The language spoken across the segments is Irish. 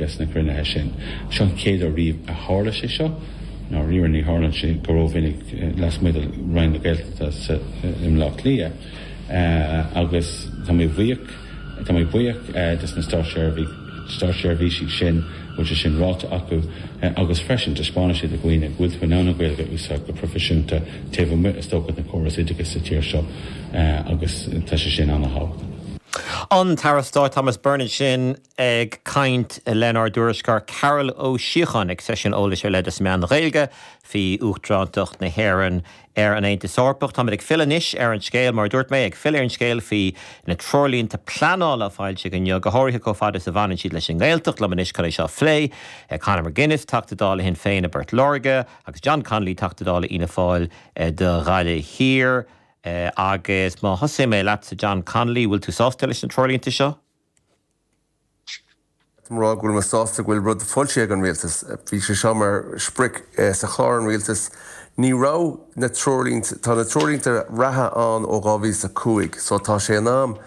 Sna cruinnithe sin. Seo an chéad uair riamh a tharla sé seo. I ndáiríre ní tharlann sé go rómhinic lasmuigh de Roinn na Gaeltachta sa i mBleá Cliath agus tá mé bhuíoch tá mé buíoch des na státseirbhísigh sin go bhfuil sé sin ráite acu agus freisin taispeánann sé do dhaoine go bhfuil tú in ann an Ghaeilge a úsáid go proifisiúnta taobh amuigh is dócha den chóras oideachais sa tír seo agus tá sé sin an-thábhachtach. An tAire Stáit Thomas Byrne ansin. Ag caint lenár dtuairisceoir Carol Ó Síocháin ag seisiún eolais ar leith dos na meáin Ghaeilge faoi Uachtarántacht na hÉireann ar an Aontas Eorpach. Táimid ag filleadh anois ar an scéal, mar a dúirt mé, ag filleadh ar an scéal faoi na treoirlínte pleanála a foilsíodh inniu, go háirithe chomh fada is a bhaineann siad leis an nGaeltacht. Liom anois chun é seo a phlé, Conor McGuinness, Teachta Dála Shinn Féin i bPort Láirge, agus John Connolly, Teachta Dála Fhianna Fáil do Ghaillimh Thiar. Agus má thosaíonn mé leatsa, John Connolly, bhfuil tú sásta leis na treoirlínte seo? Caithfidh mé a rá go bhfuil mé sásta go bhfuil rud foilsithe ag an Rialtas. Bhí sé seo mar sprioc sa chlár an Rialtais. Ní raibh na treoirlínte, tá na treoirlínte reatha ann ó 2005 so tá sé in am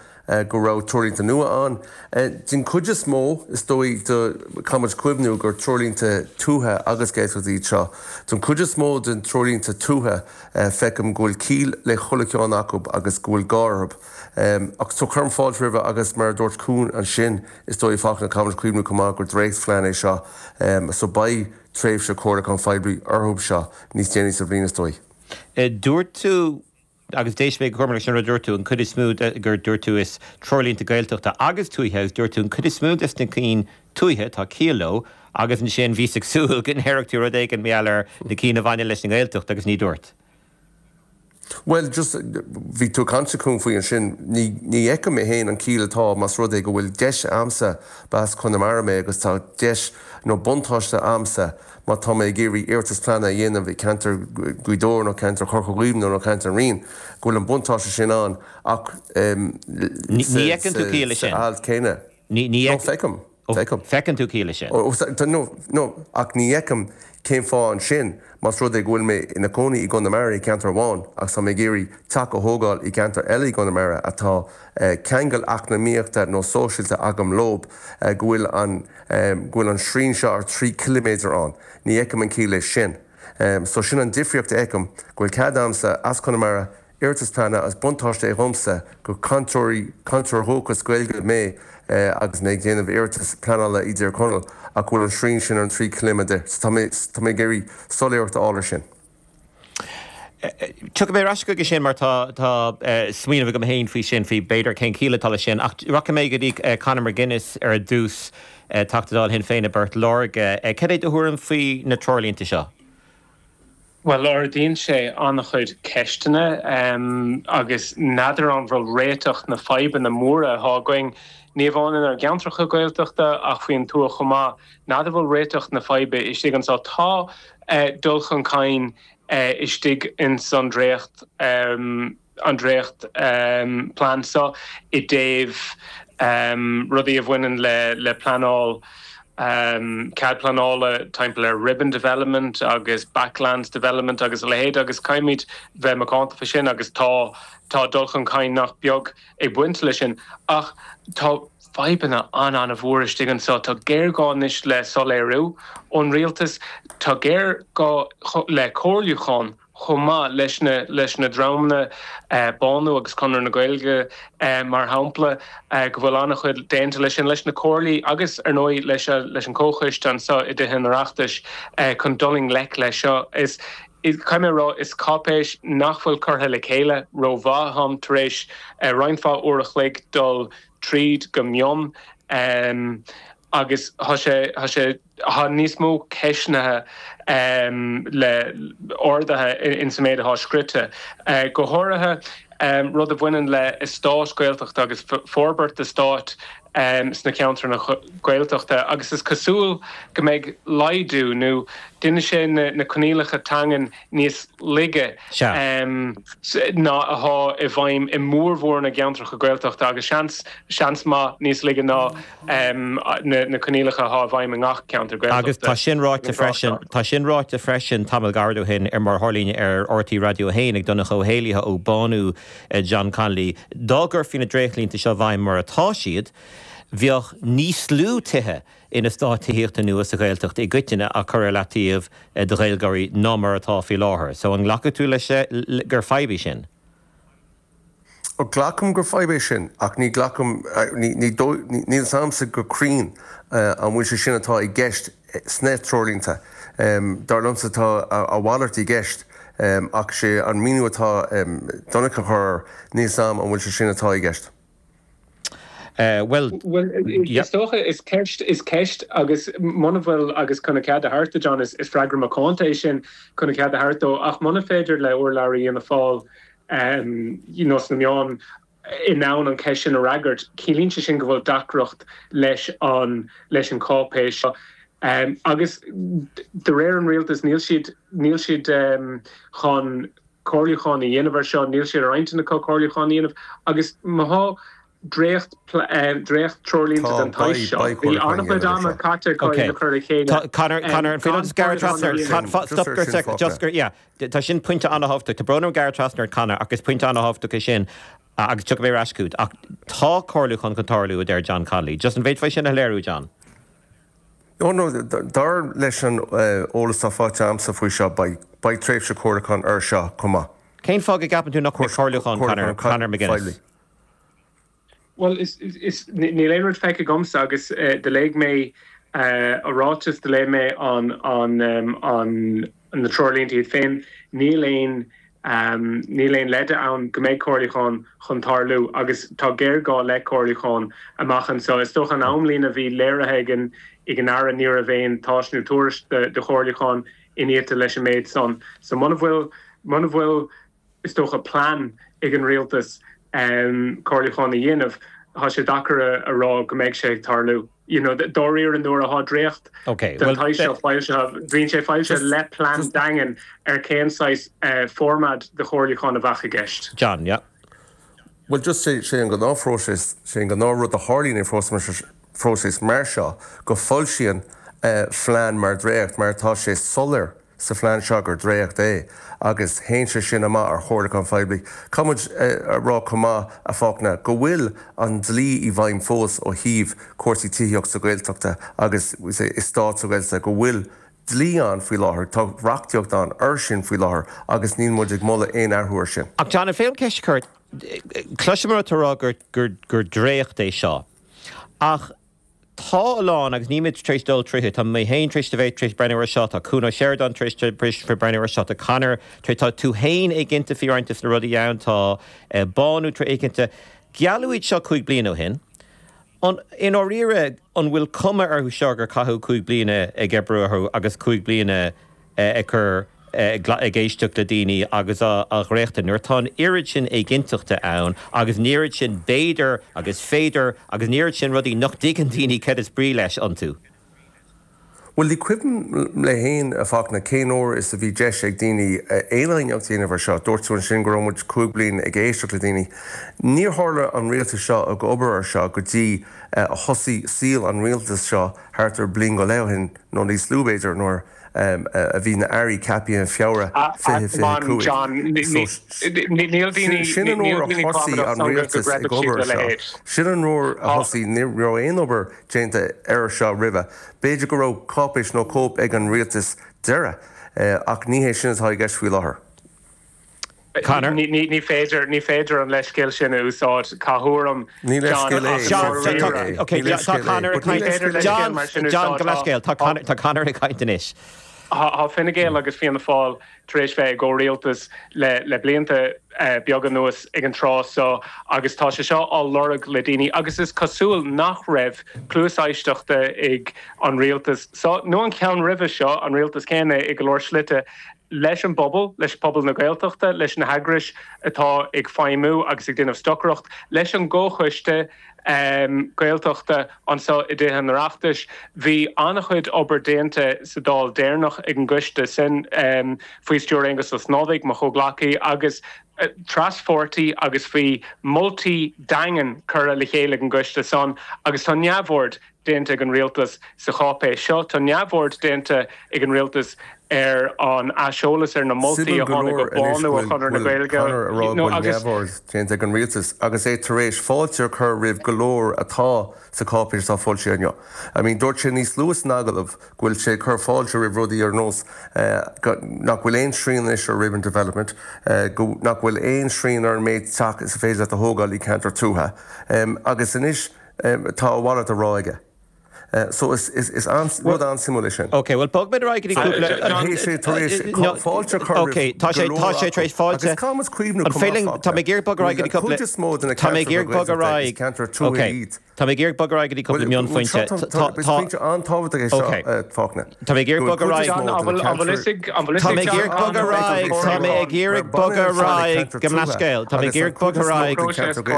go raibh treoirlínte nua ann. Den chuid is mó, is dóigh, do, caithfidh muid cuimhniú gur treoirlínte tuaithe agus Gaeltachta iad seo. Den chuid is mó den treoirlínte tuaithe feicim go bhfuil ciall le chuile cheann acu agus go bhfuil gá orthu. Ach so cuirim fáilte roimhe agus mar a dúirt Con ansin, is dóigh Fachtna, caithfimid cuimhniú chomh maith gur dréachtphlean é seo so beidh tréimhse comhairliúcháin phoiblí orthu seo níos déanaí sa bhliain is dóigh. Dúirt tú, agus d'éist mé go cúramach leis an rud a dúirt tú, an chuid is mó de, gur dúirt tú is treoirlínte Gaeltachta agus tuaithe agus dúirt tú an chuid is mó des na cinn tuaithe, tá ciall leo agus ansin bhíos ag súil go ndéarfadh tú rud éigin mar gheall ar na cinn a bhaineann leis an nGaeltacht agus ní dúirt. Bhuel, just, bhí tú ag caint a Con faoi ansin, ní, ní fheicim mé féin an ciall atá más rud é go bhfuil deis a'msa, b'as Conamara mé agus tá deis nó buntáiste a'msa má tá mé ag iarraidh iarratas pleanála a dhéanamh i ceantar Ghaoth Dobhair nó ceantar Chorca Dhuibhne nó ceantar an Ríon, go bhfuil an buntáiste sin ann ach em, Ní, ní fheiceann tú ciall leis sin? sa alt céanna. Ní, ní No, feicim. Feicim. Feiceann tú ciall leis sin? Ó, no, no, ach ní fheicim cén fáth ansin, más rud é go bhfuil mé ina cónaí i gConamara i gceantar amháin agus tá mé ag iarraidh teach a thógáil i gceantar eile i gConamara atá ceangal eacnamaíochta nó sóisialta agam leob, go bhfuil an, go bhfuil an srian seo ar 3 ciliméadar ann. Ní fheicim an ciall leis sin. So sin an difríocht a fheicim, go bhfuil cead a'msa as Conamara Iarratas pleanála is buntáiste é dhomsa gur cainteoirí, cainteoir dhúchas Gaeilge mé agus mé ag déanamh iarratas pleanála i dTír Chonaill ach go bhfuil an srian sin ar an 3 ciliméadar so tá mé, tá mé ag iarraidh soiléireacht a fháil ar sin. Tiocfaidh mé ar ais chuige sin mar tá, tá smaoineamh agam féin faoi sin, faoi b'fhéidir cén chiall atá leis sin ach rachaidh mé go dtí Conor McGuinness ar dtús, Teachta Dála Shinn Féin i bPort Láirge. Cad é do thuairim faoi na treoirlínte seo? Bhuel, ardaíonn sé an-chuid ceisteanna agus n'fheadar an bhfuil réiteach na fadhbanna móra atá againn, ní amháin inár gceantracha Gaeltachta ach faoin tuath chomh maith, n'fheadar bhfuil réiteach na faidhbe istigh anseo. Tá dul chun cinn istigh ins an dréacht. an dréacht plean seo i dtaobh rudaí a bhaineann le pleanáil, cead pleanála timpeall ar ribbon development agus backlands development agus a leithéid agus caithfimid bheith macánta faoi sin agus tá tá dul chun cinn nach beag ag baint leis sin ach tá fadhbanna an-an-mhór istigh anseo. Tá géarghá anois le soiléiriú ón rialtas, tá géarghá le comhairliúchán chomh maith leis na leis na dreamanna, Bánú agus Conradh na Gaeilge mar shampla, go bhfuil an-chuid déanta leis sin, leis na comhairlí agus ar ndóigh leis leis an comhchoiste anseo i dTithe an Oireachtais chun dul i ngleic leis seo. Is caithfidh mé a rá, is cáipéis nach bhfuil curtha le chéile rómhaith. Táim tar éis roinnt mhaith uair a chloig dul tríd go mion agus tá sé tá sé Tá níos mó ceisteanna le ardaithe in sa méid atá scrite. Go háirithe rud a bhaineann le eastáit Gaeltachta agus forbairt eastáit sna ceantair Gaeltachta agus is cosúil go mbeidh laghdú nó déanfaidh sé na coinníollacha teangan níos laige ná atá i bhfeidhm i mórmhór na gceantracha Gaeltachta agus seans, seans maith níos laige ná na coinníollacha atá i bhfeidhm i ngach ceantar Gaeltachta. Agus tá sin ráite freisin, tá sin ráite freisin tamall gairid ó shin ar mar a tharlaíonn ar RTÉ Raidió 1 ag Donncha Ó hÉallaithe ó Bánú John Connolly, dá gcuirfí na dréachtlínte seo i bhfeidhm mar atá siad, bheadh níos lú tithe. in eastáit tithíochta nua sa Ghaeltacht i gcoitinne á cur ar leataobh do Ghaeilgeoirí ná mar atá faoi láthair. So an nglacfaidh tú leis gur fadhb í sin? Glacaim gur fadhb é sin ach ní ghlacaim, ní dóigh, níl fhios a'msa go cruinn an bhfuil sé sin atá i gceist sna treoirlínte. Dar liomsa tá a mhalairt i gceist ach sé an míniú atá Donncha a chur air, níl fhios a'm an bhfuil sé sin atá i gceist. Bhuel, is dócha, is ceist, is ceist agus muna bhfuil, agus chun a chead a thabhairt do John, is freagra macánta é sin chun a chead a thabhairt dó, ach muna féidir le urlabhraí Fhianna Fáil you know sna meáin in ann an cheist sin a fhreagairt, ciallaíonn sé sin go bhfuil deacracht leis an, leis an cháipéis seo. Agus de réir an rialtais níl siad, níl siad chun comhairliúchán a dhéanamh ar seo, níl sé ar intinn acu comhairliúchán a dhéanamh agus má thá dréacht, dréacht treoirlínte den tsaghas seo, bhí an-chuid ama caite acu iad a chur le chéile. Conor, Conor, an féidir liom just gearradh trasna ort? Stop gur sec, just gur, yeah, tá sin pointe an-thábhachtach. Tá brón orm gearradh trasna ort, Conor, ach is pointe an-thábhachtach é sin agus tiocfaidh mé ar ais chugat. Ach tá comhairliúchán chun tarlú, a deir John Connolly. Just an bhféadfá é sin a shoiléiriú, John? No, no, dar leis an eolas atá faighte a'msa faoi seo, beidh, beidh tréimhse comhairliúcháin air seo chomh maith. Cén fáth go gceapann tú nach mbeidh comhairliúchán, Conor, Conor McGuinness? Bhuel, is, is, níl aon rud feicthe agamsa agus do léigh mé a ráiteas, do léigh mé an, an, an, na treoirlínte iad féin, níl aon Níl aon leide ann go mbeidh comhairliúchán chun tarlú agus tá géarghá le comhairliúchán amach anseo. Is dócha an amlíne a bhí léirithe ag an ag an Aire ní raibh aon tásc nó tuairisc de chomhairliúchán iniata leis an méid san. So muna bhfuil muna bhfuil is dócha plean ag an Rialtas comhairliúchán a dhéanamh tá sé deacair a rá go mbeidh sé ag tarlú. You know, dáiríre nuair atá dréacht den tsaghas seo foilsithe, bíonn sé foilsithe le plean daingean ar cén saghas formáid de chomhairliúchán a bheadh i gceist. John, yeah. Bhuel, just sé, sé an gnáthphróiseas, sé an gnáthrud a tharlaíonn i phróiseas mar seo go foilsíonn phlean mar dréacht, mar tá sé soiléir sa phlean seo gur dréacht é agus théann sé sin amach ar chomhairliúchán phoiblí. Caithfidh muid a rá chomh maith, a Fhachtna, go bhfuil an dlí i bhfeidhm fós ó thaobh cúrsaí tithíochta sa Ghaeltachta agus eastáit sa Ghaeltacht, go bhfuil dlí ann faoi láthair, tá reachtaíocht ann air sin faoi láthair agus níl muid ag moladh aon athrú air sin. Ach John, an féidir liom ceist a chur? Cloisim ort ag rá gur dréacht é seo ach Tá a lán, agus níl mé tar éis dul tríothu, tá mé féin tar éis a bheith tar éis breathnú air seo, tá Cuan Ó Seireadáin tar éis breathnú air seo, tá Conor tar éis, tá tú féin éiginnte faoi roinnt de na rudaí ann, tá Bánú tar éiginnte. Gealladh iad seo 5 bliana ó shin. An, i ndáiríre, an bhfuil cuma orthu seo gur caitheadh 5 bliana ag oibriú orthu agus 5 bliana ag cur, ag éisteacht le daoine agus á dhréachtú, nuair atá an oiread sin éiginnteachta ann agus an oiread sin b'fhéidir agus féidir agus an oiread sin rudaí nach dtuigeann daoine céard is brí leis iontu. Bhuel, ní cuimhin liom féin, a Fhachtna, cén uair is a bhí deis ag daoine aon aighneacht a dhéanamh ar seo. Dúirt tú ansin go raibh muid 5 bliain ag éisteacht le daoine. Níor tharla an rialtas seo ag obair ar seo go dtí a thosaigh saol an rialtais seo thart ar bliain go leith ó shin, nó níos lú b'fhéidir, nuair a bhí na airí ceaptha i Feabhra 2025. Sin an uair a thosaigh an rialtas ag obair ar seo. Sin an uair a thosaigh, ní raibh aon obair déanta air seo roimhe. B'fhéidir go raibh cáipéis nó cóip ag an rialtas deiridh, ach ní hé sin atá i gceist faoi láthair. Conor. Ní féidir, ní féidir an leithscéal sin a úsáid, caith orm, Ní leithscéal é, John, ok, tá Conor ag caint, John, John, gabh leithscéal, tá Conor, tá Conor ag caint anois. Tá Fine Gael agus Fianna Fáil tar éis bheith i gcomhrialtas le le blianta beaga anuas ag an tráth seo agus tá sé seo á lorg le daoine agus is cosúil nach raibh cluas éisteachta ag an rialtas seo nó an ceann roimhe seo, an rialtas céanna i go leor slite. leis an bpobal, leis pobal na Gaeltachta, leis na heagrais atá ag feidhmiú agus ag déanamh stocaireacht, leis an gComhchoiste Gaeltachta anseo i dTithe an Oireachtais. Bhí an-chuid obair déanta sa Dáil deireanach ag an gcoiste sin faoi stiúir Aengus Ó Snodaigh, mo chomhghleacaí, agus traspháirtí agus bhí moltaí daingean curtha le chéile ag an gcoiste san agus tá neamhaird. déanta ag an rialtas sa cháipéis seo. Tá neamhaird déanta ag an rialtas ar an aiseolas ar na moltaí Suimiúil a go tháinig ó leor anois Bánú go ó Chonradh na bhfuil Gaeilge Conor ag rá you go know bhfuil agus neamhaird déanta ag an rialtas agus é tar éis fáilte a chur roimh go leor atá sa cháipéis atá foilsithe inniu. I mean dúirt sé níos luaithe san agallamh go bhfuil sé ag cur fáilte roimh rudaí ar nós nach bhfuil aon srian anois ar ribbon development, go nach bhfuil aon srian ar an méid teach is féidir leat a thógáil i gceantar tuaithe. Agus anois tá a mhalairt á rá aige. So is is rud an-suimiúil é sin. Ok, bhuel bogfaimid ar aghaidh go dtí cúpla. Tá sé tar éis fáilte a chur roimh go leor acu. Agus caithfidh muid cuimhniú chomh maith Tá mé ag iarraidh bogadh ar aghaidh go dtí cúpla. Cuid is mó de na ceantracha Gaeltachta is ceantair tuaithe iad. Tá mé ag iarraidh bogadh ar aghaidh go dtí cúpla mionphointe. Is pointe an-tábhachtach é seo, Fachtna. Tá mé ag iarraidh bogadh ar aghaidh. Tá mé ag iarraidh bogadh ar aghaidh. Tá mé ag iarraidh bogadh ar aghaidh. Gabh mo leithscéal. Tá mé ag iarraidh bogadh ar aghaidh.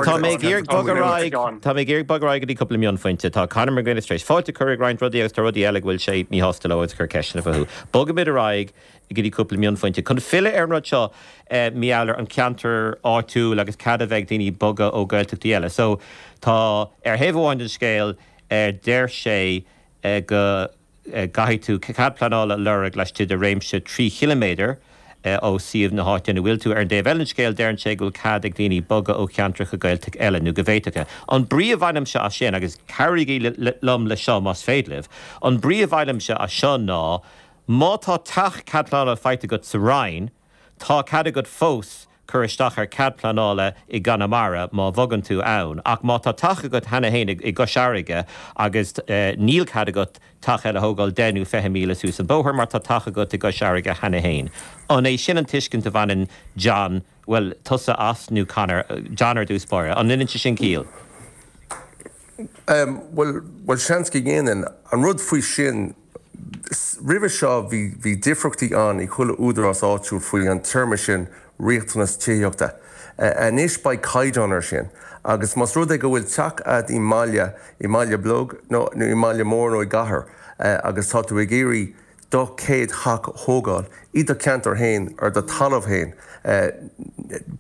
Tá mé ag iarraidh bogadh ar aghaidh. Tá mé ag iarraidh bogadh ar aghaidh go dtí cúpla mionphointe. Tá Conor McGuinness tar éis fáilte a chur roimh roinnt rudaí agus tá rudaí eile go bhfuil sé míshásta leo agus ag cur ceisteanna fúthu. Bogfaimid ar aghaidh go dtí cúpla mionphointe. Chun filleadh ar an rud seo, mar gheall ar an cheantar áitiúil agus cead a bheith ag daoine bogadh ó Ghaeltachtaí eile. So, tá, ar thaobh amháin den scéal, deir sé go. gcaithfidh tú cead pleanála a lorg laistigh de réimse 3 chiliméadar ó suíomh na háite ina bhfuil tú. Ar an dtaobh eile den scéal, deireann sé go bhfuil cead ag daoine bogadh ó cheantracha Gaeltachta eile, nó go bhféadfadh. An brí a bhainimse as sin, agus cabhraígí liom le seo más féidir libh, an brí a bhainimse as seo ná má tá teach cead pleanála faighte agat sa Rinn, Tá cead agat fós cur isteach ar cead pleanála i gConamara má bhogann tú ann, ach má tá teach agat cheana féin i gCois Fharraige agus níl cead agat teach eile a thógáil 10 nó 20 míle suas an bóthar mar tá teach agat i gCois Fharraige cheana féin. An é sin an tuiscint a bhaineann John, bhuel, tusa as nó Conor, John ar dtús báire, an ndéanann sé sin ciall? Bhuel, bhuel seans go ndéanann. An rud faoi sin, Roimhe seo bhí bhí difríochtaí ann i chuile údarás áitiúil faoi an téarma sin riachtanas tithíochta. Anois beidh caighdeán ar sin agus más rud é go bhfuil teach a'd i mbaile, i mbaile beag nó i mbaile mór nó i gcathair agus tá tú ag iarraidh do chéad theach a thógáil i do cheantar féin ar do talamh féin,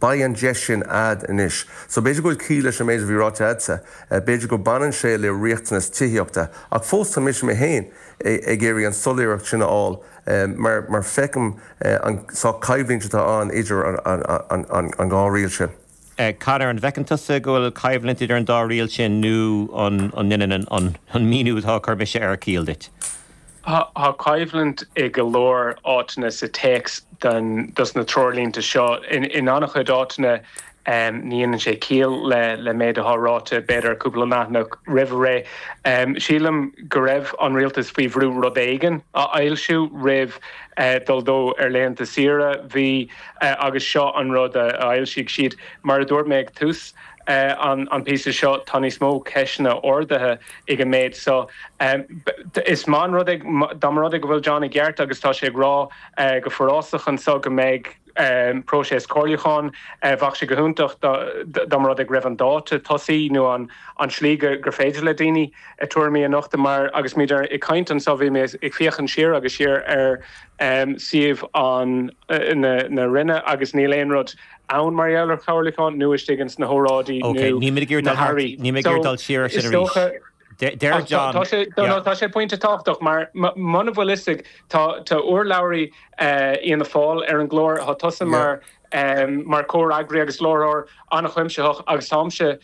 beidh an deis sin a'd anois. So b'fhéidir go bhfuil ciall leis an méid a bhí ráite a'dsa, b'fhéidir go baineann sé le riachtanas tithíochta, ach fós tá mise mé féin ag iarraidh an soiléireacht sin a fháil mar mar feicim an sórt coimhlint atá ann idir an dhá riail sin. Conor, an bhfeiceann tusa go bhfuil coimhlint idir an dá riail sin nó an ndéanann an míniú atá á chur mise air ciall duit? Tá coimhlint i go leor áiteanna sa téacs dos na treoirlínte seo. In an-chuid áiteanna ní dhéanann sé ciall le méid atá ráite b'fhéidir cúpla leathanach roimh ré. Sílim go raibh an rialtas faoi bhrú rud éigin a fhoilsiú roimh dul dó ar laethanta saoire. Bhí agus seo an rud a fhoilsigh siad. Mar a dúirt mé ag tús an píosa seo, tá níos mó ceisteanna ardaithe ag an méid seo. Is maith an rud é, dá mba rud é go bhfuil John i gceart agus tá sé ag rá go forásach anseo go mbeidh próiseas comhairliúcháin, bheadh sé go hiontach dá mba rud é go raibh an dáta tosaigh nó an tslí gur féidir le daoine a tuairimí a nochtadh mar agus muid ag caint anseo bhí mé ag féachaint siar agus siar ar suíomh an na Roinne agus níl aon rud ann mar gheall ar chomhairliúchán nó istigh ins na hóráidí nó na hairí. Níl mé ag iarraidh dul siar ar sin arís. Deir John. Tá sé pointe tábhachtach mar muna bhfuil fhios ag tá urlabhraí Fhianna Fáil ar an gclár, tá tusa mar mar chomhfhreagraí agus láithreoir an-chuimsitheach agus táimse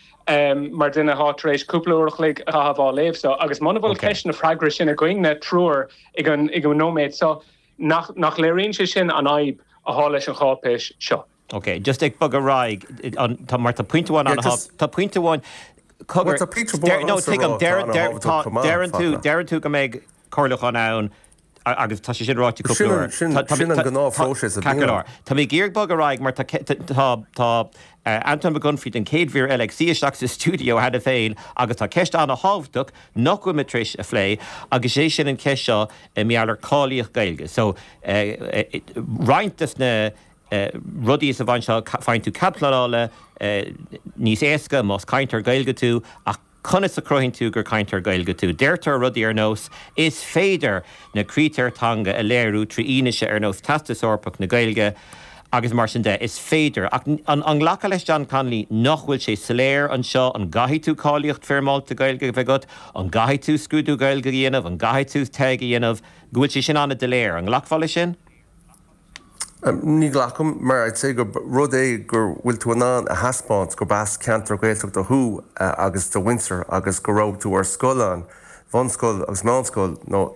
mar duine atá tar éis cúpla uair a chloig a chaitheamh á léamh seo agus muna bhfuil ceist na freagra sin againne triúr ag an nóiméad seo, nach léiríonn sé sin an fhadhb atá leis an cháipéis seo? Ok, just ag bogadh ar aghaidh, tá, mar tá pointe amháin Yeah, just, tá pointe amháin, cogar, Well, tá pointe amháin no, ionsa a tuigim, rá atá ana-thábhachtach chomh maith, deireann tú, Fachtna. deireann tú go mbeidh comhairliúchán ann agus tá sé sin ráite cúpla Sin uair. an, sin, sin an gnáthphróiseas a Ceart go bhíonn leor. ann. Tá mé ag iarraidh bogadh ar aghaidh mar tá, tá, tá Anton Mac Unfraidh don chéad mhír eile ag suí isteach sa stiúideo cheana féin agus tá ceist ana-thábhachtach nach bhfuil muid tar éis a phlé agus is é sin an cheist seo mar gheall ar cáilíocht Gaeilge. So, roinnt des na rudaí sa bhaint seo, faigheann tú cead pleanála níos éasca más cainteoir Gaeilge tú ach conas a chruthaíonn tú gur cainteoir Gaeilge tú? Deirtear rudaí ar nós 'is féidir na critéir teanga a léiriú trí fhianaise ar nós Teastas Eorpach na Gaeilge'. Agus mar sin de, is féidir. Ach an nglacfá leis John Connolly nach bhfuil sé soiléir anseo, an gcaithfidh tú cáilíocht foirmeálta Gaeilge a bheith agat, an gcaithfidh tú scrúdú Gaeilge a dhéanamh, an gcaithfidh tú TEG a dhéanamh, go bhfuil sé sin an-doiléir. An nglacfá leis sin? Ní ghlacaim, mar I'd say gur rud é go bhfuil tú in ann a thaispeáint gurb as ceantar Gaeltachta thú agus do mhuintir agus go raibh tú ar scoil ann, bhunscoil agus meánscoil nó.